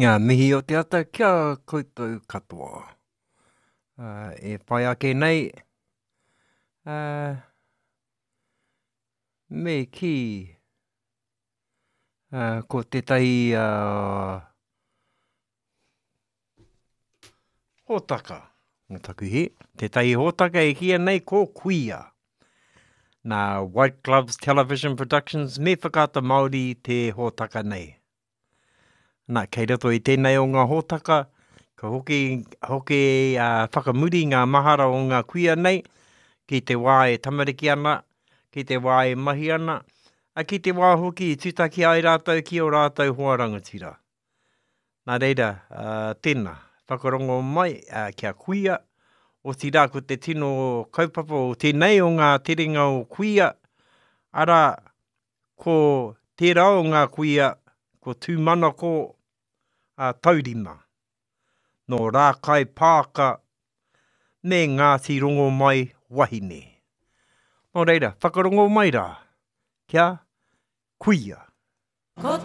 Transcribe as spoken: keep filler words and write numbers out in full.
Ngā mihi o te ata ki a koutou katoa. Uh, e whai ake nei, uh, me kī, uh, ko tētahi uh, hōtaka, nō taku hē, tētahi hōtaka e kīia nei ko Kuia. Nā White Gloves Television Productions me Whakaata Māori te hōtaka nei. Nā, kei roto i tēnei o ngā hōtaka, ka hoki, hoki uh, whakamuri ngā mahara o ngā kuia nei ki te wā e tamariki ana, ki te wā e mahi ana, a ki te wā hoki i tūtaki ai rātou ki ō rātou hoa rangatira. Nā reira, uh, tēnā, whakarongo mai uh, kia kuia, otirā ko te tino kaupapa o tēnei o ngā terenga o kuia, arā, ko tērā o ngā kuia, ko Tūmanako a Taurima, nō Rākai Pāka me Ngāti Rongomai Wahine. Nō reira, whakarongo mai rā, kia kuia. Ko